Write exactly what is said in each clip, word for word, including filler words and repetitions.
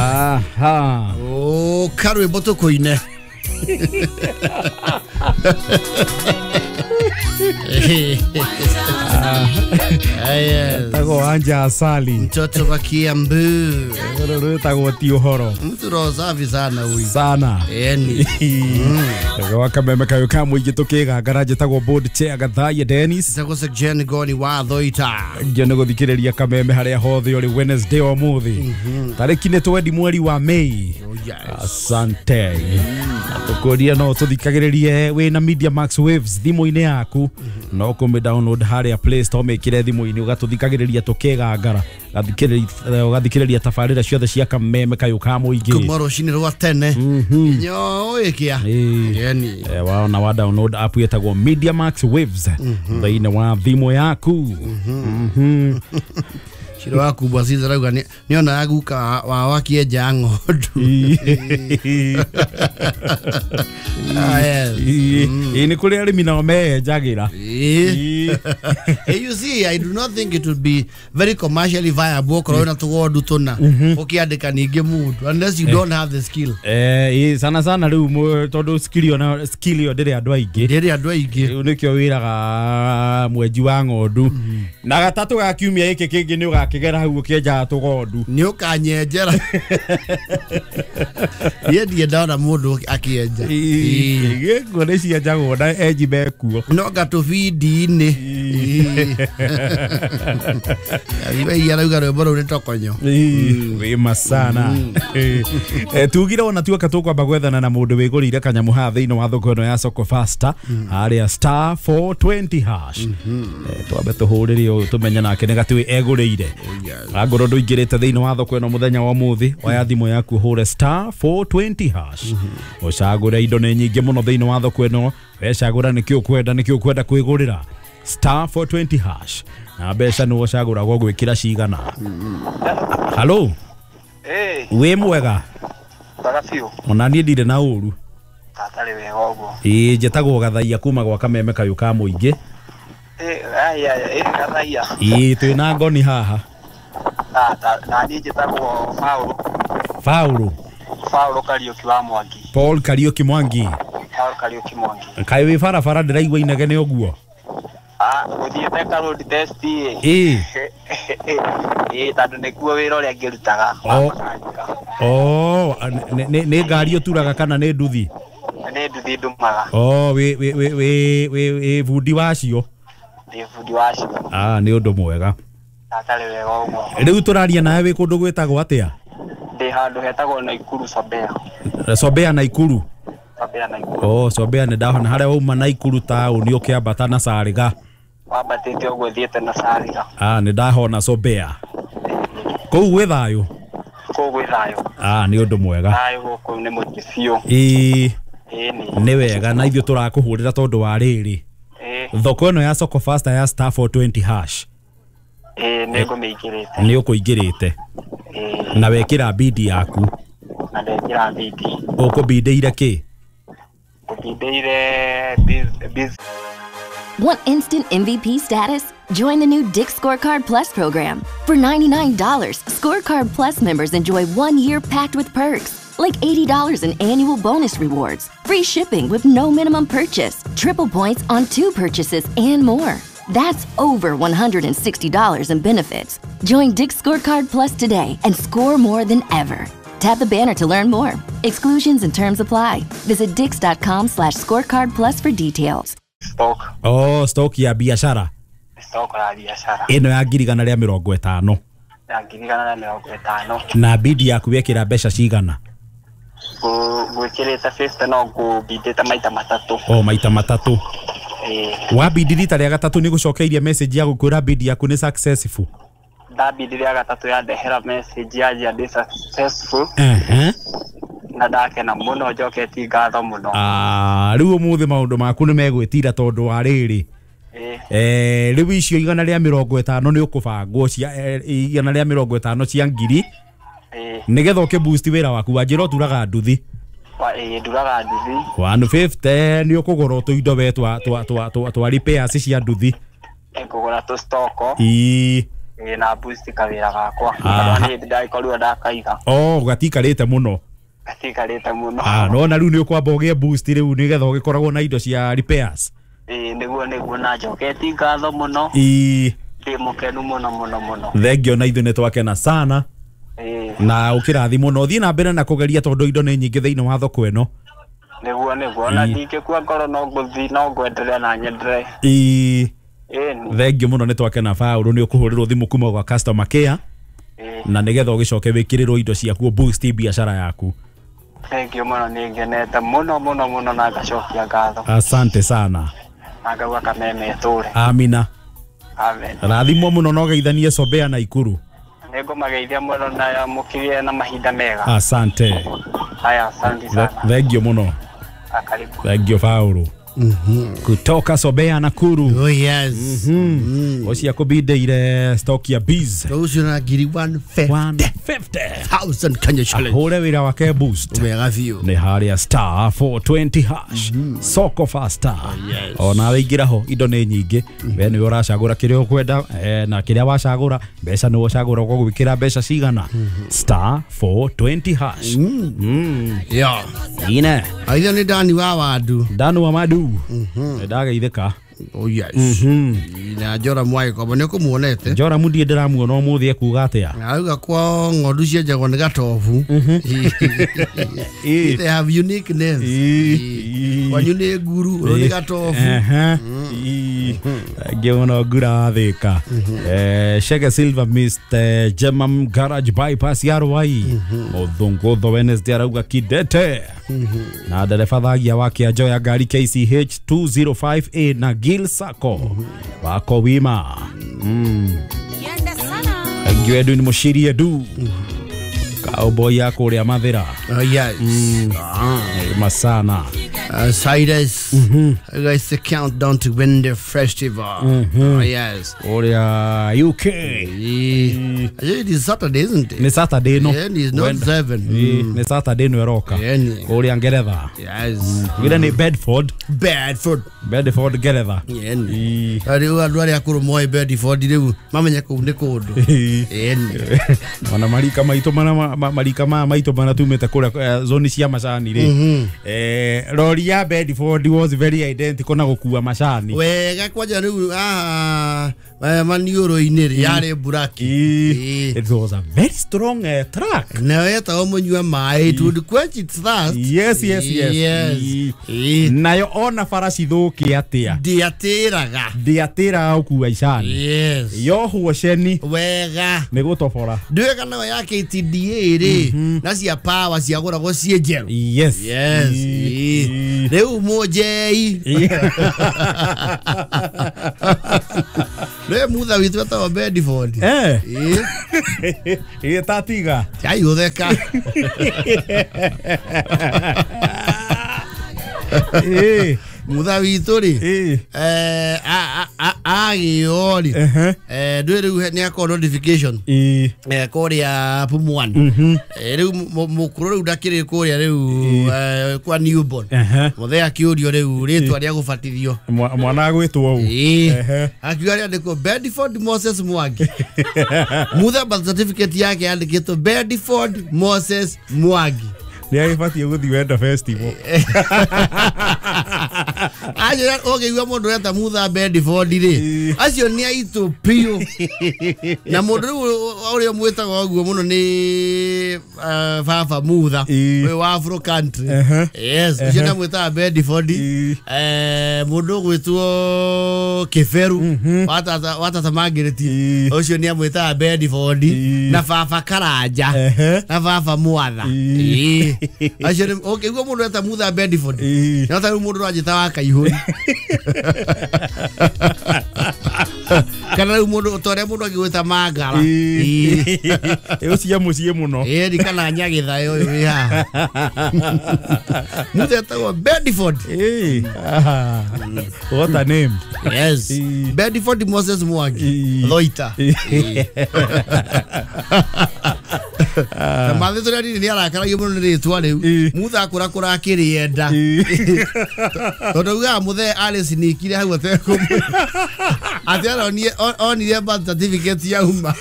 Aha. Oh, karwimbo tukuine. Tago anja asali. Mtoto wa Kiambu. Tago ti uhoro. Mtu roho safi sana huyu. Sana. Eni. Tago akameme kayo kamwe igitukiga garaje tago board chair Gathaiya Dennis. Tago se Jen Goni wa Thoita. Ngene guthikiriria kameme haria hothe uri Wednesday umuthi. Tariki ni twendi mweri wa May. Oh yes. Asante. Tukuria no tuthikagiririe wina Media Max Waves thimu-ini yaku. No kumi download haria Play Store mekire thimu-ini ugatũthikagĩrĩria tũkĩgangara ugathikĩrĩria tabarĩra ciothe cia kameme kayũ ka mũingĩ kuma rũcinĩ rwa tene nyo ĩkia yani waona wa download app yetagwo Media Max Waves thĩinĩ wa thimũ yaku. Shiro waku bwaciza rauga ni ona guka wa wakienja ng'ondu. Ah yes. Ĩ nĩ kũrĩ arĩmi nao meyenjagĩra. You see, I do not think it would be very commercially viable okorwo na tũgondu tũna ũkĩandĩka ningĩ mũndũ unless you don't have the skill. Eh, sana sana rĩu tondũ skill ona skill yo ndĩrĩ andũ aingĩ. Ndĩrĩ andũ aingĩ. Rĩu nĩkĩo wĩraga mwenji wa ng'ondu. Na gatatũ ga kiumia gĩkĩ kĩngĩ nĩ ũgakĩgera hau ũkĩenjaga tũgondu. Nĩ ũkanyenjera. Niĩ ndirĩ ndona mũndũ akĩenja. Gĩkuo nĩ cienjagwo na enji mekuo. No gatũbindi-inĩ. Iwe arauga rwĩmbo rũu nĩ tokonyo. Wĩma sana. Tugire ona tuoka tũkwamba gwethana na mũndũ wĩgũrĩire kanyamũ haha thĩinĩ wa thoko ĩno ya Soko Faster harĩa star four twenty hash. Twambe tũhũrĩre ũyũ tũmenye nake nĩ gatĩ egũrĩire. Angorwo ndũingĩrĩte thĩinĩ wa thoko ĩno mũthenya wa ũmũthĩ oya thimũ yaku ũhũre star four twenty hash. Ũcagũre indo nĩ nyingĩ mũno thĩinĩ wa thoko ĩno, wecagũra nĩkĩ ũkwenda nĩkĩ ũkwenda kwĩgũrĩra star four twenty hash na mbeca nĩ ũcagũragwo gwĩkĩra cigana. Halo. Eh. Wĩ mwega? Mwega biũ. Ona niĩ ndirĩ na ũru. Tatarĩ wega ũguo. Ĩĩ njĩtagwo Gathaiya kuma gwa kameme kayũ ka mũingĩ. Eh, aya aya Gathaiya. Ĩĩ twĩna ngoni haha. Na na niĩ njĩtagwo Paul. Paul. Paul Kariuki wa Mwangi. Paul Kariuki Mwangi. Paul Kariuki Mwangi. Kaĩ wĩ barabara ndĩraigua inegene ũguo? Ah, gũthiĩte ka road test ĩ. Ĩĩ. Ĩĩ tondũ nĩkuo wĩra ũrĩa ngĩrutaga. Oh, nĩ nĩ ngari ũturaga kana nĩ nduthi? Nĩ nduthi ndumaga. Oh, wĩ wĩ wĩ wĩ wĩ bundi wacio? Ndĩ bundi wacio. Ah, nĩ ũndũ mwega. Tatarĩ wega ũguo. Rĩu tũraria nawe wĩ kũndũ gwĩtagwo atĩa? Ndĩ handũ hetagwo Naikuru Sobea. Sobea Naikuru? Sobea Naikuru. Oh, Sobea nĩ ndahona harĩa wauma Naikuru taũni ũkĩambata na Sariga. Wambatĩte ũguo thiĩte na Sariga. Ah, nĩ ndahona Sobea. Kũu gwĩ thayũ? Kũu gwĩ thayũ. Ah, nĩ ũndũ mwega. Thayũ gũkũ nĩ mũingĩ biũ. Ĩĩ. Ĩĩ nĩ wega na ithuĩ tũrakũhũrĩra tondũ wa rĩrĩ. Ĩĩ. Thoko ĩno ya Soko Faster ya star four twenty hash. Ĩĩ nĩ ngũmĩingĩrĩte. Nĩ ũkũingĩrĩte. Ĩĩ. Na wekĩra bidi yaku. Na ndekĩra bidi. Ũkũbindĩire kĩ? Ngũbindĩire biz. Want instant M V P status? Join the new Dick's Scorecard Plus program. For ninety-nine dollars, Scorecard Plus members enjoy one year packed with perks, like eighty dollars in annual bonus rewards, free shipping with no minimum purchase, triple points on two purchases, and more. That's over one hundred sixty dollars in benefits. Join Dick's Scorecard Plus today and score more than ever. Tap the banner to learn more. Exclusions and terms apply. Visit dicks.com slash scorecard plus for details. Stock. Oh, stock ya biashara. Stock ya biashara. Ĩno ya ngiri igana rĩa mĩrongo ĩtano. Ya ngiri igana rĩa mĩrongo ĩtano. Na bidi yaku wekĩra mbeca cigana? Ngwĩkĩrĩte fifty no ngũbindĩte maita matatũ. Oh, maita matatũ. Ĩĩ. Wabindi rita rĩa gatatũ nĩ gũcokeirie message ya gũkwĩra bidi yaku nĩ successful. Ndabindi rĩa gatatũ yandehera message yanjia ndĩ successful. Uh-huh. Na ndakena mũno njoketie ngatho mũno. Ah, rĩu ũmũthĩ maũndũ maku nĩ megwĩtira tondũ wa rĩrĩ. Eh, rĩu icio igana rĩa mĩrongo ĩtano nĩ ũkũbangwo cia igana rĩa mĩrongo ĩtano cia ngiri. Ĩĩ. Nĩgetha ũkĩ boost wĩra waku wanjĩra ũturaga nduthi. Wa ĩĩ nduraga nduthi. one fifty nĩ ũkũgũra tũindo we twa twa twa twa repairs cia nduthi. Ngũgũra tũ stock. Ĩĩ. Ĩĩ na boost kawĩra gakwa. Tondũ niĩ ndagĩkorirwo ndakaiga. Oh, gatikarĩte mũno. Gatikarĩte mũno. Ah, no na rĩu nĩ ũkwamba ũgĩe boost rĩu nĩgetha ũgĩkoragwo na indo cia repairs. Ĩĩ nĩguo nĩguo na njoketi ngatho mũno. Ĩĩ. Ndĩ mũkenu mũno mũno mũno. Thengio na ithuĩ nĩ twakena sana. Ĩĩ. Na ũkĩrathimwo na ũthiĩ na mbere na kũgeria tondũ indo nĩ nyingĩ thĩinĩ wa thoko ĩno. Nĩguo nĩguo na ndingĩkua ngoro no ngũthiĩ no ngwenderea na nyenderee. Ĩĩ. Ĩĩ. Thengio mũno nĩ twakena Paũlũ nĩ ũkũhũrĩrwo thimũ kuma gwa customer care. Ĩĩ. Na nĩgetha ũgĩcoke wĩkĩrĩrwo indo ciaku boost biacara yaku. Thengio mũno nĩ ngenete mũno mũno mũno na ngacokia ngatho. Asante sana. Na ngauga kameme ĩtũre. Amina. Amen. Rathimwo mũno na ũgeithanie Sobea na Ikuru. Nĩngũmageithia mũno na mũkĩgĩe na mahinda mega. Asante. Haya, asante sana. Thengio mũno. Karibu. Thengio Paũlũ. Mm-hmm. Kutoka Sobea Nakuru. Oh yes. Mm-hmm. Ocia kubindeire stock ya bees. Rũciũ na ngiri one fifty thousand Kenya shillings. Ahũre wĩra wake boost. Wega biũ. Nĩ harĩa star four twenty hash. Mm-hmm. Soko faster. Oh, yes. Ona wĩingĩra ho indo nĩ nyingĩ. Mm-hmm. We nĩwe ũracagũra kĩrĩa ũkwenda eh, na kĩrĩa wacagũra mbeca nĩwe ũcagũra ũgũgwĩkĩra mbeca cigana. Mm-hmm. Star four twenty hash. Mm. Mm. Yeah. Ine. Aitha nĩ Dani wa Wadu. Dani wa Madu. Mhm. Ndageithĩka. Oh yes. Mhm. Na Njora Mwagĩkombo nĩ ũkũmuonete. Njora mũndie ndĩramuona ũmũthĩ ekuga atĩa? Arauga kwao ng'ondu cienjagwo nĩ gatobu. Ĩĩ. They have unique names. Ĩĩ. Kwanyu nĩ nguru, ũyũ nĩ gatobu. Ehe. Ĩĩ. Ngĩona ngura Thika. Eh, Shege Silver Mister Jemam Garage Bypass ya Rwai. Mũthũngũtho Wednesday arauga kidete. Na ndereba thagia wa kĩanjo ya ngari K C H two zero five A na Gil Sacco. Wako wima. Mm. Thank you Edwin Mushiri Edu. Cowboy ya kũrĩa Mathĩra. Oh yes. Mm. Ah. Masana. Uh, Cyrus, mm-hmm. Guys, the countdown to win the festival. Mm-hmm. Oh, yes. Oria U K. Yeah. It is Saturday, isn't it? Ni Saturday, no. Yeah, it's not When, seven. Mm. Ni Saturday no eroka. Yeah. Oria Ngeretha. Yes. Wira ni Bedford. Bedford. Bedford Ngeretha. Yeah. Rĩu andũ arĩa akũrũ moĩ Bedford rĩu mamenye kũu nĩ kũndũ. Yeah. Ona marika maitũ mana marika ma maitũ mana tumĩte kũrĩa zoni cia macani rĩ. Eh, rori ya Bedford was very identical na gũkua macani. Wega kwanja rĩu ah maniũrũ-inĩ rĩ yarĩ buraki. It was a very strong uh, truck. Na wetagwo mũnyua maĩ, it would quench its thirst. Yes, yes, yes. Yes. Nayo ona bara cithũke atĩa? Ndĩatĩraga. Ndĩatĩraga gũkua icani. Yes. Yohwo ceni. Wega. Nĩ gũtobora. Ndũĩ kana yo ya K T D A rĩ na cia power ciagũragwo ciĩ njerũ. Yes. Yes. Rĩu mũnjei. Rĩu mutha witũ etagwo Bedford. Eh. Ĩ tatiga. Chai ũtheka. Eh. Mutha witũ rĩ eh agĩo rĩ eh ndũĩ rĩu nĩ akorwo notification eh kũrĩa Pumwani rĩu mũkũrũ rĩu ndakĩrĩ kũrĩa rĩu kwa newborn mũthee akĩũrio rĩu rĩtwa rĩa gũbatithio mwana agwĩtwo ũũ akiuga rĩandĩkwo Bedford Moses Mwangi. Mutha birth certificate yake yandĩkĩtwo Bedford Moses Mwangi. Nĩ agĩbatiĩ gũthiĩ Wendo Festival. Ajo ũngĩigua mũndũ ũreta Mutha Bedford rĩ acio nĩ aitũ biũ. Na mũndũ rĩu ũrĩa mwĩtaga ũguo mũno nĩ baba Mutha ũyũ wa Afro country. Yes, ũcio nĩ amwĩtaga Bedford. Eh mũndũ ũgwĩtwo Kĩberu wa tata wa tata Margaret ũcio nĩ amwĩtaga Bedford na baba Karanja na baba Mwatha. Acio nĩ ũkĩigua mũndũ eta Mutha Bedford no ta rĩu mũndũ ũranjĩta wa Kaihũri kana rĩu mũndũ ta ũrĩa mũndũ angĩgwĩta Mangara ĩyo cia mũciĩ mũno ĩĩ kana Nyagĩthaĩ ũyũ wĩ haha. Mutha etagwo Bedford. What a name. Yes. Bedford Moses Mwangi Loita. Na mathĩ tũrĩa nini nĩ arakaragio mũno nĩ rĩtwa rĩu Mutha akũrakũra akĩrĩenda tondũ augaga mũthee arĩcinikire hau atekũmwĩra Atĩ aronie onire birth certificate yauma.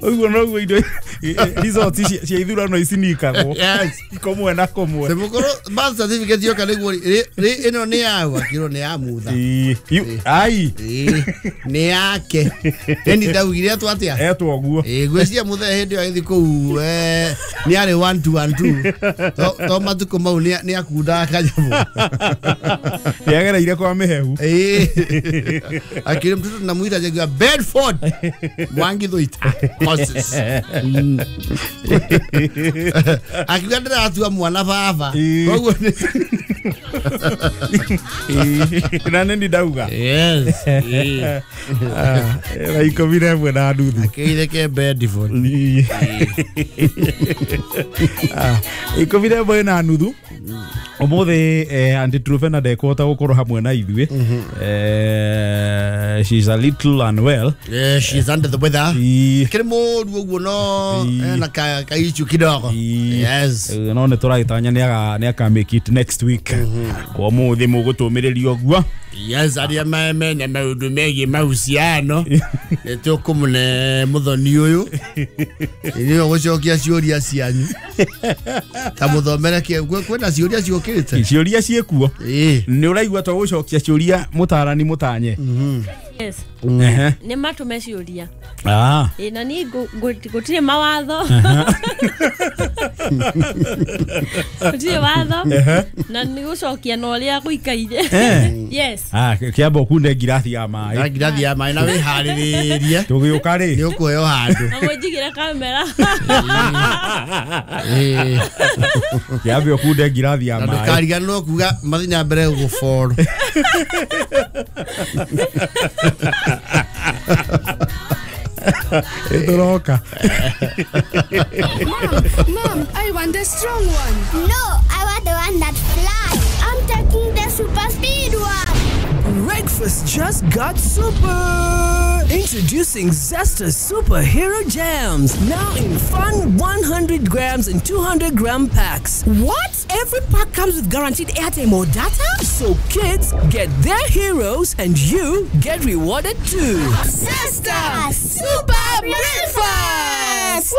Ũguo noguo indo results cia ithurano ici nikagwo. Yes. Komwe na komwe. Mũkũrũ birth certificate yoka nĩguo ĩno nĩ yaũ akĩrwo nĩ ya Mutha. Ai. Nĩ yake. Eni ndaugire etwo atĩa? Etwo ũguo. Ĩ ngwĩciria Mutha hĩndĩ ĩyo agĩthiĩ kũu nĩ arĩ one two one two. To matukũ mau nĩ akundaga kanyamũ. Nĩ agereire kwa mĩhehu. Ĩ. Akĩrĩ mtoto tunamwita Jaguar Bedford Mwangi Thuita. Moses. Akiuga ndĩratua mwana baba. Koguo na nĩ ndauga. Yes. Thaa ikũmi na ĩmwe na nuthu. Akĩire ke Bedford. Ikũmi na ĩmwe na nuthu. Ũmũthĩ Aunty Truphena ndekũhota gũkorwo hamwe na ithuĩ. She's a little unwell. Yeah, she's under the weather. Kĩrĩ mũru ũguo no ena ka ka issue kidogo. Yes. No nĩ tũragĩtanya nĩ aka make it next week. Kwa ũmũthĩ mũgũtũmĩrĩria ũguo. Yes, arĩa mena maũndũ megiĩ mahusiano nĩ tũkũmũne mũthoni ũyũ nĩwe gũcokia ciũria cianyu ta mũthomere kwĩna ciũria ciũkĩte. Ciũria ciĩkuo. Nĩ ũraigua tũgũcokia ciũria mũtarani mũtanye. Yes. Nĩ matũme ciũria. Ah. Ĩ na niĩ gũtirĩ mawatho. Gũtirĩ watho. Na nĩ gũcokia na ũrĩa gũikaire. Yes. Ah, kĩamba ũkunde ngirathi ya maĩ. Na ngirathi ya maĩ na wĩharĩrĩrie. Tũgĩũka rĩ. Nĩ ũkũheo handũ. Na mũnjigĩre kamera. Kĩambe ũkunde ngirathi ya maĩ. Na ndũkariganĩrwo kuga mathiĩ na mbere gũboro. Ĩtũroka. Mom, Mom, I want the strong one. No, I want the one that flies. I'm taking the super speed one. Breakfast just got super. Introducing Zesta Superhero Jams, now in fun one hundred grams and two hundred gram packs. What? Every pack comes with guaranteed airtime or data? So kids get their heroes and you get rewarded too. Zesta Super Breakfast!